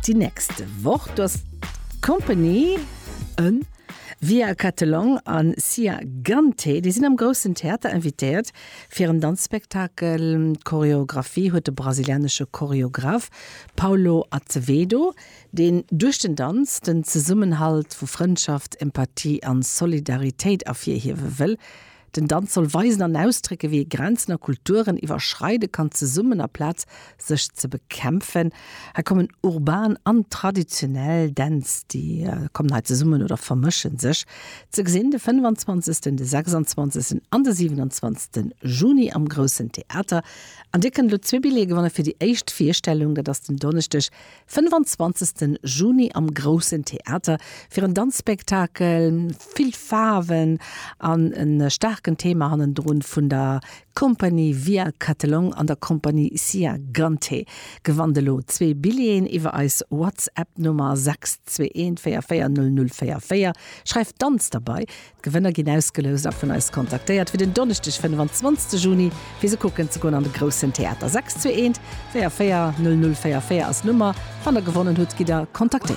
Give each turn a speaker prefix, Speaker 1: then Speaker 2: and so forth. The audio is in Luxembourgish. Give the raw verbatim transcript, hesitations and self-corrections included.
Speaker 1: Déi nächst Woch, do ass d'Compagnie en Via Catelong an Cia Gante, déi sinn am Groussen Theater invitéiert fir en Danzspektakel. D'Choreographie huet de brasilianesche Choreograph Paulo Azevedo, deen duerch den Danz den Zesummenhalt vu Frëndschaft, Empathie an Solidaritéit ervirhiewe wëll. Den Danz soll weisen an ausdrécken, wéi ee Grenzen a Kulturen iwwerschreide kann, zesummen aplaz sech ze bekämpfen. Hei kommen urban an traditionell Dänz, déi kommen hei zesummen oder vermëschen sech. Ze gesinn de fënnfanzwanzegsten, de sechsanzwanzegsten an de siwenanzwanzegsten Juni am Groussen Theater. An Dir kënnt elo zwee Billjeeë gewanne fir déi éischt Virstellung, dat ass den Donneschdeg, fënnefanzwanzegsten Juni am Groussen Theater fir en Danzspektakel, vill Faarwen an e staarken Thema hannendrun vun der Compagnie Via Catelong an der Compagnie Cia Gante. Gewannt elo zwee Billjeeën iwwer eis WhatsApp-Nummer sechs zwee eent véier véier null null véier véier. Schreift Danz derbei. D'Gewënner ginn ausgeloust a vun eis kontaktéiert fir den Donneschdeg fënnefanzwanzegste Juni fir se kucken ze goen an de Groussen Theater. Sechs zwee eent véier véier null null véier véier ass d'Nummer. Wann der gewonnen hutt, gitt der kontaktéiert.